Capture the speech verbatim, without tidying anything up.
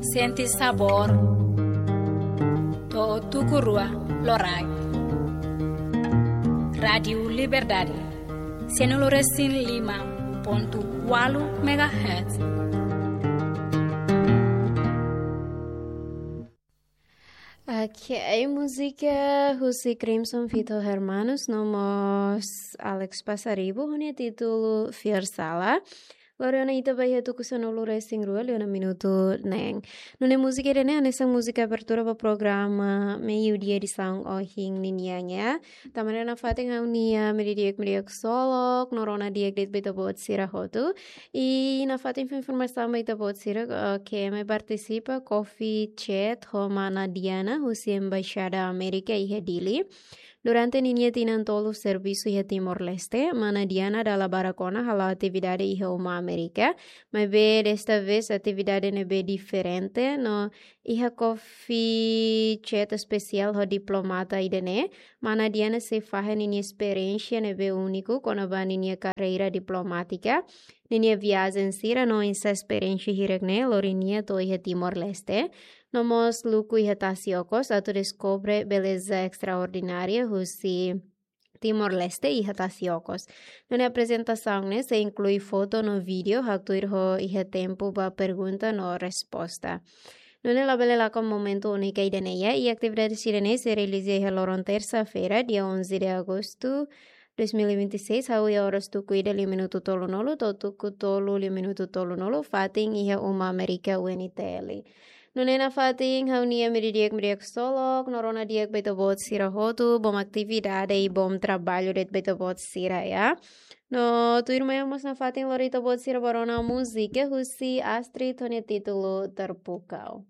Sente sabór. To'o tuku rua loraik. Rádiu Liberdade, sianulu resin lima pontu ualu megahertz. Ok, múzika husi Crimson feat Hermanos no mós Alex Passaribu, ho nia títulu Fiar Sala. Lori ona ita ba iha tuku sanulu resin rua, liu ona minutu neen. Nune'e múzika ida-ne'e hanesan múzika abertura ba programa Meiudia edisaun ohin ninian, ya. Tanba ne'e nafatin ha'u-nia meiudia di'ak, meiudia di'ak ksolok, no rona di'ak de'it ba ita-boot sira hotu. I nafatin fó informasaun ba ita-boot sira, eh, ke mai partisipa Coffee Chat ho mana Diana, husi Embaixada Amérika iha Dili. Durante ninia tinan tolu servisu iha Timor-Leste, mana Diana dala barak ona hala'o atividade iha uma Amérika, maibé desta vez atividade ne'ebé diferente, no iha Coffee Chat espesiál ho diplomata ida-ne'e, mana Diana sei fahe ninia esperiénsia ne'ebé úniku kona-ba ninia karreira diplomátika, ninia viajen sira no oinsá esperiénsia hirak-ne'e lori nia to'o iha Timor-Leste, no mós luku iha tasi okos atu deskobre beleza estraordinária husi Timor-Leste iha tasi okos. Nune'e aprezentasaun ne'e sei inklui foto no vídeo, haktuir ho iha tempu ba pergunta no resposta. Nune'e labele lakon momentu úniku ida-ne'e, ya, i atividade sira-ne'e sei realiza iha loron tersa-feira, dia onze de agosto dois mil e vinte e seis, hahú iha oras tuku ida liu minutu tolunulu, to'o tuku tolu liu minutu tolunulu, fatin iha uma Amérika U N T L. Nune'e nafatin ha'u-nia meiudia di'ak, meiudia di'ak ksolok, no rona di'ak ba ita-boot sira hotu, bom atividade i bom traballu de'it ba ita-boot sira, ya. No tuirmai mós nafatin lori ita-boot sira ba rona múzika husi Astrid ho nia títulu Terpukau.